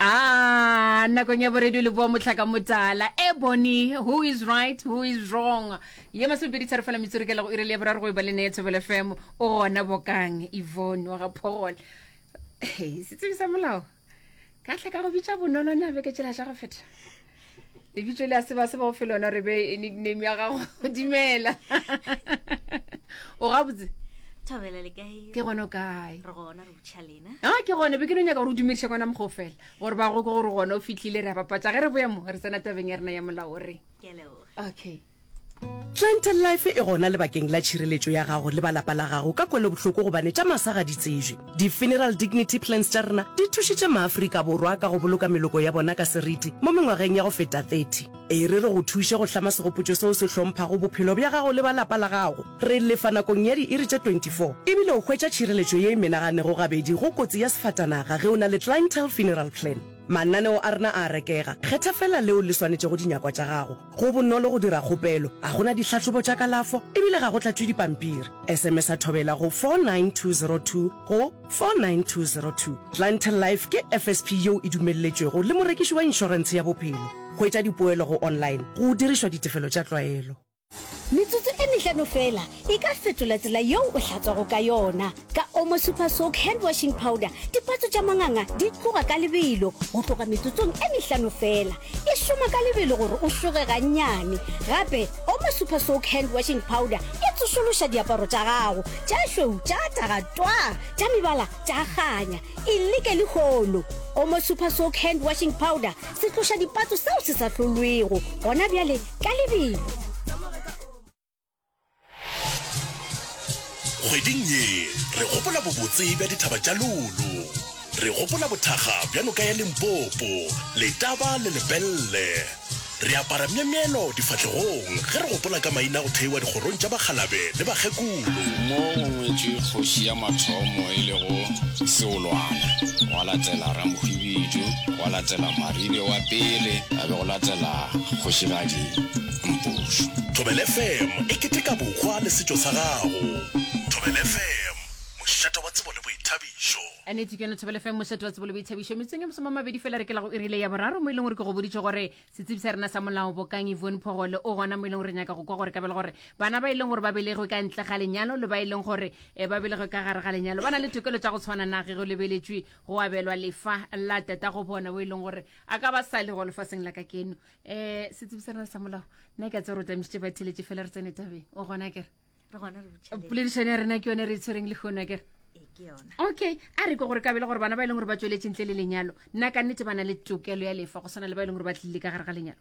Ah, nakong ya boredio le boa motlhaka motala ebony who is right who is wrong ye masomepedi tharo fela metsoro ke go ire le ya boraro go e ba le neye thobelo fm o gona bokang yvonne wa ga phogole setsebi sa molao ka tlha ka go bitša bonolo na beke tšela tša go feta lebitso le a se ba se ba go fe lona re be nickname ya gago dumela o gabotse thobela le kae ke gona o kae re gona re botšha lena a ke gone be ke no nyaka gore o dumediše kona mokgo fela gore ba go ke gore gona o fitlhile re a bapatša ge re boya mo re tsena tabeng ya rena ya molao re ke a leboga okay Clientele Life e gona lebakeng la tšhireletšo ya gago le ba lapa la gago ka kwelobohloko gobane tša masa ga di tsebje. Di-Funeral Dignity Plans tša rena di thušitše maAfrika Borwa ka go boloka meloko ya bona ka seriti mo mengwageng ya go feta 30. E re re go thuše go hlama segopotšo seo se hlomphago bophelo bja gago le ba lapa la gago. Re lefa nakong ya diiri tše 24 ebile o hwetša tšhireletšo ye e menaganego gabedi go kotsi ya sefatanaga ge o na le Clientele Funeral Plan. Mananeo a rena a a rekega, kgetha feela leo le swanetšego dinyakwa tša gago. Go bonolo go dira kgopelo, ga go na dihlahlobo tša kalafo e bile ga go tlatšwe dipampiri. SMS-a Thobela go 49202 go 49202. Clientele Life ke FSP yeo e dumelletšwego le morekiši wa inšorentshe ya bophelo. Hwetša dipoelo go online go dirišwa ditefelo tša tlwaelo. Metsotso e mehlano feela e ka fetola tsela yeo o hlatswago ka yona. Ka Omo Super Soak Hand Washing Powder, dipatso tša manganga di tloga ka lebelo go tloga metsotsong e mehlano feela. E šoma ka lebelo gore o šoge gannyane. Gape, Omo Super Soak Hand Washing Powder e tsošološa diaparo tša gago, tša šweu tša taga twaa, tša mebala tša kganya. E leke lehono! Omo Super Soak Hand Washing Powder, setloša dipatso seo se sa hlolwego gona bjale ka lebelo. Kgweding ye re gopola bobotse bja dithaba tša Lulu. Re gopola bothakga bja noka ya Limpopo, Letaba le Lepelle. Re apara myemyelo difahlegong ge re gopola ka maina a go theiwa dikgorong tša bakgalabe le bakgekolo. Mo go ngwetšwe kgoši ya mathomo e lego Seolwana, gwa latela Ramohwibidu, gwa latela Maribe wa pele, a be go latela Kgošigadi Mpošo. Thobela FM e keteka bohwa le setšo sa gago. Thobela FM, mošate wa tsebo le boithabišo. Nnete ke yone Thobela FM, mošate wa tsebo le boithabišo. Metsong ye masomamabedi fela re ke la go irile ya boraro mo e leng gore ke go boditše gore setsebi sa rena sa molao Bokang Yvonne Phogole o gona mo e leng gore re nyaka go kwa gore ka bele gore bana ba e leng gore ba belegwe ka ntle ga lenyalo le ba e leng gore eh, ba belegwe ka gare ga lenyalo ba na le tokelo tša go tshwana na ge go lebeletšwe go abelwa lefa la tata go bona bo e leng gore a ka ba sa le go lefaseng la ka keno um setsebi sa rena sa molao nna ke a tse gore o tamišitše ba theletše fela re tsene tabeng o gona kere re gona re botšhile poledišano ya rena ke yone re e tshwereng le kgono kere ee ke yona okay a re ke gore kabele gore bana ba e leng gore ba tsweletše ntle le lenyalo nna ka nnete ba na le tokelo ya lefa go swana le ba e leng gore ba tlile ka gare ga lenyalo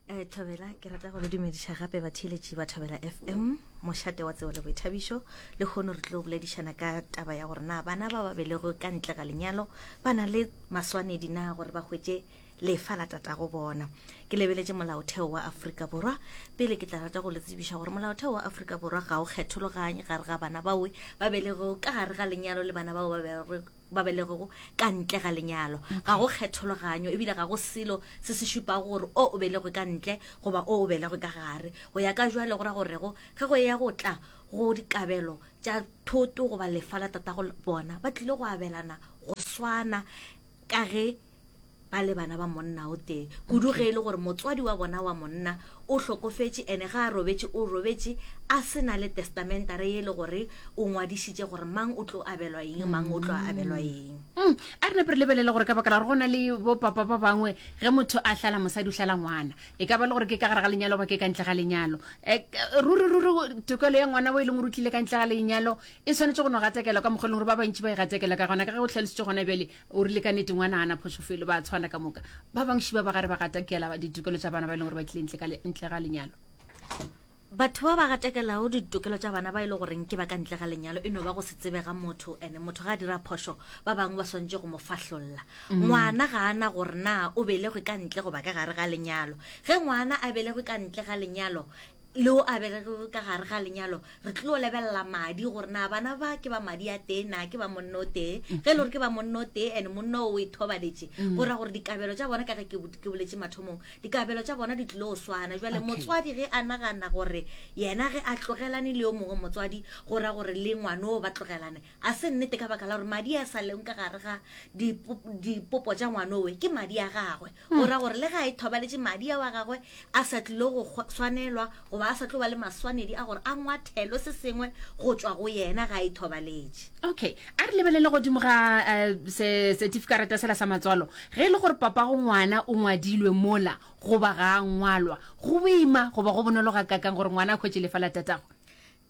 um thobela ke rata go le dumediša gape batheeletši ba thobela fm mošate wa tsebo le boithabišo le kgono re tlo boledišana ka taba ya gore na bana ba ba belegwe ka ntle ga lenyalo ba na le maswanedi na gore ba hwetše lefa la tatago bona. Ke lebeletše molaotheo wa Afrika Borwa. Pele ke tla rata go le tsebiša gore molaotheo wa Afrika Borwa ga o kgethologanye gare ga bana bao ba belegego ka gare ga lenyalo le bana bao ba belegego ka ntle ga lenyalo. Ga go kgethologanyo ebile ga go selo se se šupago gore o o belegwe ka ntle goba o o belegwe ka gare. Go ya ka jwale go ra gorego ge go eya go tla go dikabelo tša thoto goba lefa la tatago bona ba tlile go abelana go swana ka ge ba le bana ba monna o tee kudu ge e le gore motswadi wa bona wa monna o hlokofetše ene ga a robetše o robetše a se na le testamentare ye e le gore o ngwadišitše gore mang o tlo abelwa eng mang o tlo abelwa eng mm, a re nape re lebelele gore ka baka la gore go na le bopapa ba bangwe ge motho a hlala mosadi o hlala ngwana e ka ba le gore ke ka gare ga lenyalo ba ke ka ntle ga lenyalo eh, ruri ruri tokelo ya ngwana o e leng gore o tlile ka ntle ga lenyalo e swanetše go no gatekelwa ka mokgwa e leng gore ba bantši ba e gatekela ka gona ka ge o tlhalositše gona bjale O rile ka nete ngwana ana phošo felo ba tshwana ka moka. Ba bangši ba ba gare ba gatakela ditokelo tša bana ba e leng gore ba tlile ntle ka ntle ga lenyalo. Batho ba ba gatakelago ditokelo tša bana ba e le goreng ke ba ka ntle ga lenyalo e no ba go se tsebe ga motho ene motho ga a dira phošo ba bangwe ba swantše go mo fahlolla. Mm. Ngwana ga ana gore na o belegwe ka ntle goba ka gare ga lenyalo. Ge ngwana a belegwe ka ntle ga lenyalo. Le o a belegego ka gare ga lenyalo, re tlilo lebelela madi gore na bana ba ke ba madi a tee na ke ba monna o tee. Ge e le gore ke ba monna o tee and monna o o ithobaletše, go ra gore dikabelo tša bona ka ge ke ke boletše mathomong, dikabelo tša bona di tlilo go swana. Jwale motswadi ge a nagana gore yena ge a tlogelane le yo mongwe motswadi go ra gore le ngwanoo ba tlogelane, A se nnete ka baka la gore madi a sa leng ka gare ga dipopo tša ngwanowe ke madi a gagwe. Go ra gore le ge a ithobaletše madi ao a gagwe a sa tlilo go swanelwa goba a sa tlo ba le maswanedi a gore a ngwathelwe se sengwe go tšwa go yena ge a ithobaletše. Okay, a re lebelele godimo ga se setifikarata sela sa matswalo. Ge e le gore papago ngwana o ngwadilwe mola goba ga a ngwalwa, go boima goba go bonolo gakaakang gore ngwana a hwetše lefa la tatagwe?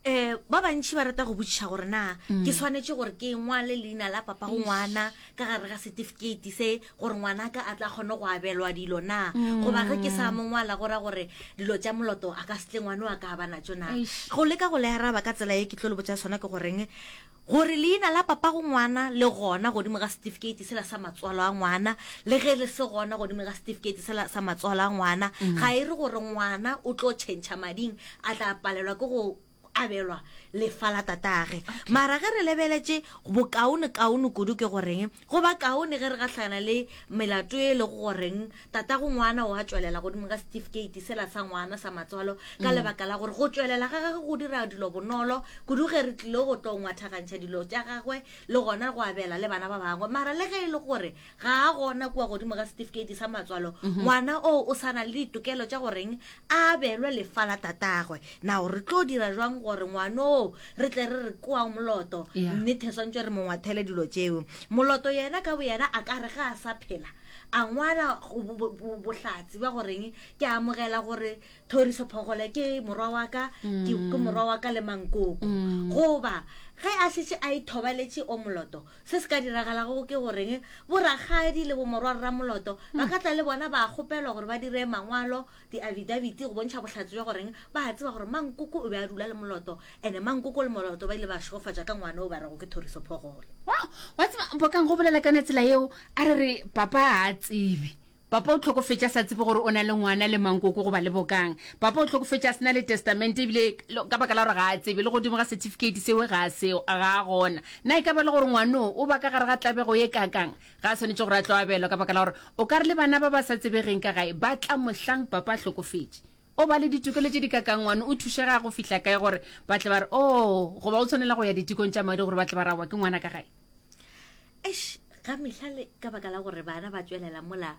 Um ba bantši ba rata go botšiša gore na ke swanetše gore ke ngwale leina la papa go ngwana ka gare ga certificate se gore ngwanaka a tla kgone go abelwa dilo na, goba ge ke sa mo ngwala go ra gore dilo tša moloto a ka se tle ngwana wa ka a ba natšo na. Go leka go le araba ka tsela ye ke tlo le botša sona ke goreng gore leina la papa go ngwana le gona godimo ga certificate sela sa matswalo a ngwana le ge le se gona godimo ga certificate sela sa matswalo a ngwana ga e re gore ngwana o tlo tšhentšha mading a tla palelwa ke go abelwa lefa la tatage. Mara ge re lebeletše, bokaone-kaone kudu ke goreng, go ba kaone ge re gahlana le melato e lego goreng tatago ngwana o a tšwelela godimo ga setifikeiti sela sa ngwana sa matswalo, ka lebaka la gore go tšwelela ga gagwe go dira dilo bonolo kudu ge re tlile go tlo ngwathagantšha dilo tša gagwe le gona go abela le bana ba bangwe. Mara le ge e le gore ga a gona kua godimo ga setifikeiti sa matswalo, ngwana oo o sa na le ditokelo tša goreng a abelwe lefa la tatagwe. Na re tlo dira jwang gore ngwanoo re tle re re koa Moloto? Yeah. Nnete swantšwe re mo ngwathele dilo tšeo. Moloto yena ka boyena a ka re ge a sa phela a ngwala bohlatse bja goreng ke amogela gore Thoriso Phogole ke morwa wa ka, ke, ke morwa wa ka le mankoko. Goba ge a šetše a ithobaletše o Moloto, Se se ka diragalago ke goreng borakgadi le bomorwarramoloto ba ka tla le bona ba kgopelwa gore ba dire mangwalo, diafidabiti, go bontšha bohlatse bja goreng ba a tseba gore Mankoko o be a dula le Moloto ene Mankoko le Moloto ba ile ba šegofatšwa ka ngwana o ba rego ke Thoriso Phogole. Wow! Wa tseba, Bokang, go bolela ka yona tsela yeo, a re re papa ga a tsebe. Papa o hlokofetše a sa tsebe gore o na le ngwana le mankoko goba le bokang. Papa o hlokofetše a se na le testamente ebile ka baka la gore ga a tsebe, le godimo ga certificate seo ga a seo, ga a gona. Na e ka ba le gore ngwanoo o ba ka gare ga tlabego ye kaakang? Ga a swanetše gore a tlo abelwa ka baka la gore o ka re le bana ba ba sa tsebegeng ka gae ba tla mohlang papa a hlokofetše. O ba le ditokelo tše di kaakang ngwano o thušega go fihla kae gore ba tle ba re, Oh, goba o tshwanela go ya ditekong tša madi gore ba tle ba re aowa ke ngwana ka gae? Eish, ga mehla le ka baka la gore bana ba tšwelela mola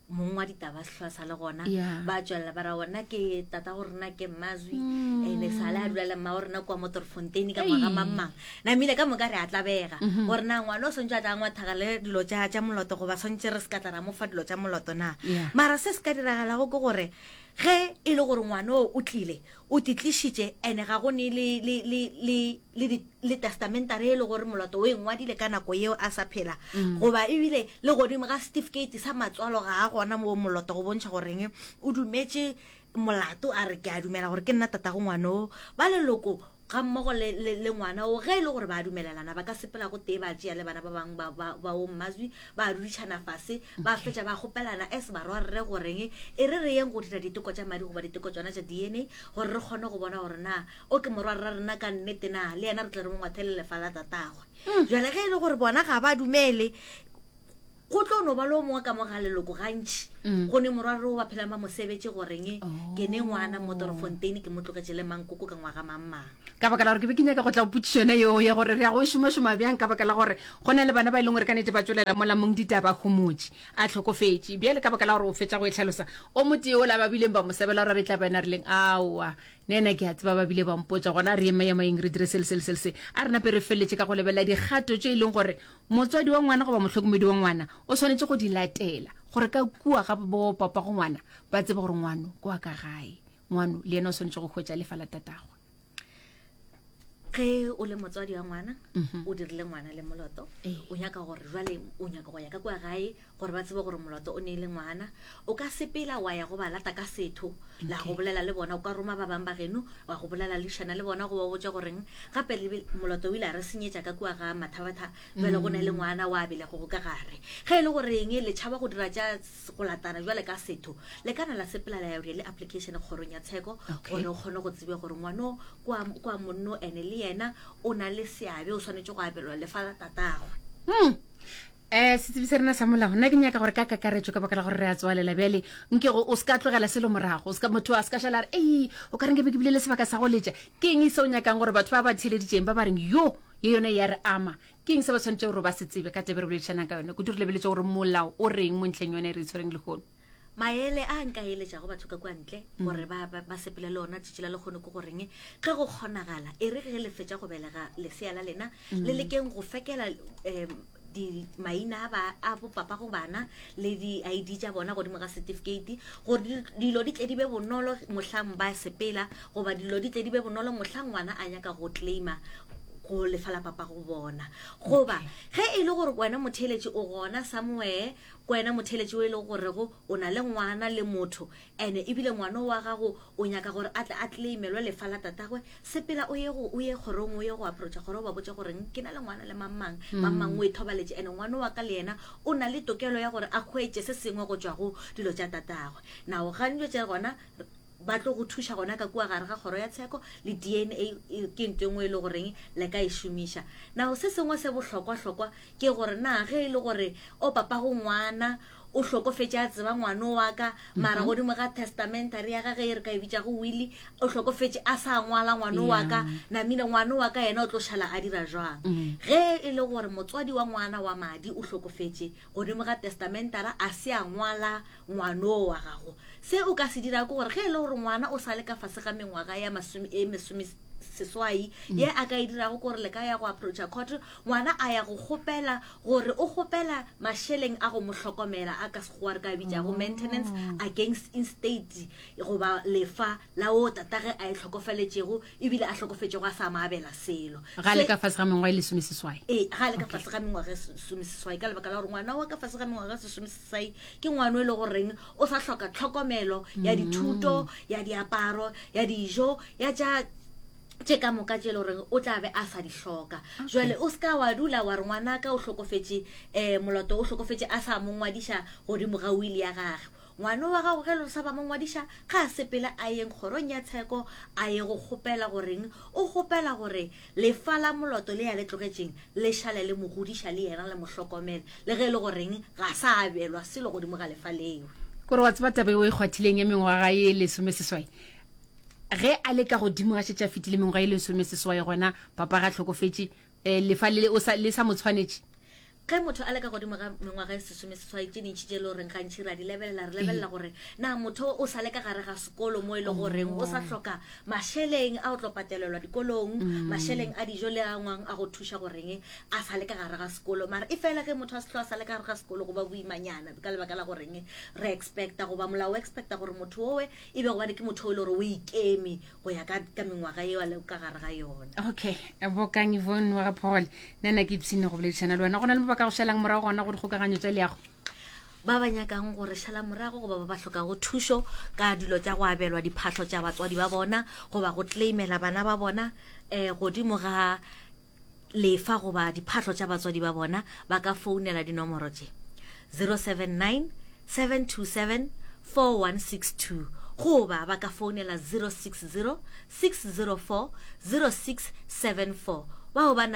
mong wa ditaba sehlwa sa le gona Yeah. ba tšwelela ba ra ona ke tata go rena ke mmazwi ene sale a dula le mma wa rena kua motorfontein ka ngwaga Ei. mang mang namile ka moka re a tlabega gore na ngwana o swantse a tla ngwathaga le dilo tša tša moloto goba swantse re se ka tla ra mo fa dilo tša moloto na Yeah. mara se se ka diragalago ke gore ge e le gore ngwana o o tlile o titlišitše ene ga go ne le, le, le, le, le, di, le testamentare e le gore moloto o e ngwadile ka nako yeo a sa phela mm. goba ebile le godimo ga certificate sa matswalo ga a gona moo moloto go bontšha goreng o dumetše molato a re ke a dumela gore ke nna tatago ngwanoo ba leloko ga mmogo le, le, le ngwana o ge e le gore ba dumelelana ba ka sepela go tee ba tšea le bana ba bangwe ba, ba, ba o mmazwi ba dudišana fase ba fetša ba kgopelana as barwarre goreng e re re yeng go dira diteko tša madi goba diteko tšona tša DNA gore re kgone go bona gore na o ke morwarra rena ka nnete na le yena re tle re mo ngwathele lefa la tatagwe. Jale ge e le gore bona ga ba dumele go tlo no ba le o mongwe ka mo ga leloko gantši mm. go ne morwarre o ba phelang ba mosebetše goreng oh. ke ne ngwana mo Doorfontein ke mo tlogetše le mankoko ka ngwaga mang mang ka baka la gore ke be ke nyaka go tla go potšišo yone yeo ya gore re ya go e šomašoma bjang ka baka la gore go na le bana ba e leng gore ka nete ba tšwelela mola mong ditaba homotše a hlokofetše bjale ka baka la gore o fetša go e hlalosa o motee ola ba bileng ba mo sebela gore a be tla ba ena rileng aowa ne ena ke a tseba ba bile ba mpotša gona re ema ema eng re dire se le se le se le se a re nape re feleletše ka go lebelela dikgato tše e leng gore motswadi wa ngwana goba mohlokomedi wa ngwana o swanetše go di latela gore ka kua ga bo papa go ngwana ba tsebe gore ngwano kwa ka gae ngwano le yena o swanetše go hwetša lefa la tatagwe. Ge o le motswadi wa ngwana, o dirile ngwana le moloto, o nyaka gore jwale o nyaka go ya ka kua gae gore ba tsebe gore moloto o ne e le ngwana, o ka sepela wa ya go ba lata ka setho, la go bolela le bona, o ka roma ba bangwe ba geno wa go bolela lešana le bona go ba botša goreng gape le moloto o ile a re senyetša ka kua ga Mathabatha, jwale go na le ngwana wa belegwego ka gare. Ge e le goreng le tšhaba go dira tša go latana jwale ka setho, le ka na la sepela la ya go dira le application kgorong ya tsheko gore o kgone go tsebe gore ngwano kwa, kwa monno ene le yena o na le seabe, o swanetše go abelwa lefa la tatagwe. Hmm. Eh, setsebi sa rena sa molao nna ke nyaka gore ka kakaretšo ka baka la gore re a tswalela bjale nke go o se ka tlogela selo morago o se ka motho a se ka šala a re ei o ka reng ke be ke bile le sebaka sa go letša ke eng se o nyakang gore batho ba ba theeleditšeng ba ba reng yo ye yone ya re ama Ke eng se ba swanetšego gore ba se tsebe ka taba e re boledišanang ka yona? Kudu re lebeletše gore molao o reng mo ntlheng yone e re e tshwereng lehono. Maele a nka eletšago batho ka kua ntle gore ba, ba, ba sepele le ona tšatši la lekgono ke goreng ge go kgonagala e re ge le fetša go belega lesea la lena le lekeng go fekela um di maina a ba a bopapa go bana le di ID tša bona godimo ga certificate gore dilo di tle di be bonolo mohlang ba sepela goba dilo di tle di be bonolo mohlang ngwana a nyaka go claima go lefa la papa go bona. Goba ge e le gore wena motheeletši o gona somewhere, ke wena motheeletši o e lego gorego o na le ngwana le motho, ene ebile ngwana wa gago o nyaka gore a tle a claimelwe lefa la tatagwe, sepela o ye go, o ye kgorong, o ye go approacha kgoro, o ba botše gore ke na le ngwana le mang mang, mang mang o e thobaletše, ene ngwana wa ka le yena o na le tokelo ya gore a hwetše se sengwe go tšwa go dilo tša tatagwe. Now ga dilo tše gona ba tlo go thuša gona ka kua gare ga kgoro ya tsheko le DNA e, ke ntho e nngwe e le goreng le ka e šomiša. Now se sengwe se bohlokwa-hlokwa ke gore na ge e le gore o papago ngwana o hlokofetše a tseba ngwano wa ka mara mhm. godimo ga testamentary ya gage e re ka e bitšago willy o hlokofetše a sa ngwala ngwano wa ka namile ngwano wa ka yena o tlo šala a dira jwang mm. ge e le gore motswadi wa ngwana wa madi o hlokofetše godimo ga testamentara a se a ngwala ngwano wa gago. Se o ka se dirago ke gore ge e le gore ngwana o sa le ka fase ga mengwaga ya masome e mesome seswai mm. ye a ka e dirago ke gore le ka ya go approacha court ngwana a ya go kgopela gore o kgopela mašeleng a go mo hlokomela a ka sekgowa re ka bitšago oh. maintenance against instate goba lefa la o tatage a e hlokofaletšego ebile a hlokofetšego a sa mo abela selo ga le ka fase ga mengwaga e lesomeseswai ee ga le ka fase ga mengwaga e lesomeseswai ka lebaka la gore ngwana wa ka fase ga mengwaga e lesomeseswai ke ngwana e le goreng o sa hloka tlhokomelo ya dithuto ya diaparo ya dijo ya tša tše ka moka tše e le goreng o tla be a sa di hloka jale o se ka wa dula wa re ngwanaka o hlokofetše um moloto o hlokofetše a sa mo ngwadiša godimo ga wili ya gage ngwana wa gago ge le sa ba mo ngwadiša ga a sepele a yeng kgorong ya tsheko a ye go kgopela goreng o kgopela gore Lefa la moloto le ya le tlogetšeng le šale le mo godiša le yena le mo hlokomele, le ge e le goreng ga sa abelwa selo godimo ga lefa leo. Kore wa tseba taba eo e kgwathileng ya mengwaga ye lesomeseswai, ge a le ka godimo ga šetše a fetile mengwaga ye lesomeseswai gona papa ga hlokofetše, um lefa le o sa le sa mo tshwanetše. Ge motho a le ka godimo ga mengwaga e sesomeseswai, tše dintši tše e le goreng gantši re a di lebelela, re lebelela gore na motho o sa le ka gare ga sekolo mo e le goreng o sa hloka mašeleng a go tlo patelelwa dikolong, mašeleng a dijo le a ngwang a go thuša goreng a sa le ka gare ga sekolo. Mara e fela ge motho a se hlo a sa le ka gare ga sekolo go ba boimanyana ka lebaka la goreng re expecta goba molao o expecta gore motho owe e be gobane ke motho o e le gore o ikeme go ya ka, ka mengwaga eo a lego ka gare ga yona. Okay, Bokang Yvonne wa ga Phogole, nna na ke ipshine go boledišana le wena. Go na le mo ba ka go šalang morago gona go dikgokaganyo tša leago? Ba ba nyakang go re šala morago goba ba ba hlokago thušo ka dilo tša go abelwa diphahlo tša batswadi ba bona goba go claimela bana ba bona um godimo ga lefa goba diphahlo tša batswadi ba bona ba ka founela dinomoro tše 079 727 4162 goba ba ka founela 060 604 0674 bao ba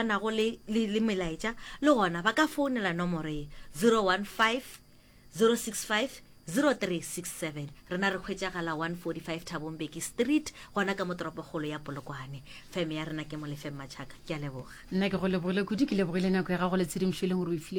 nago le, le, le melaetša le gona ba ka founela nomoro ye 015 065 0367. Rena re hwetšagala 145 Thabo Mbeki Street, gona ka mo toropokgolo ya Polokwane. Feme ya rena ke Molefeng Machaka. Ke a leboga. Nna ke go lebogile kudu, ke lebogile nako ya gago le tshedimošo e leng gore o e file.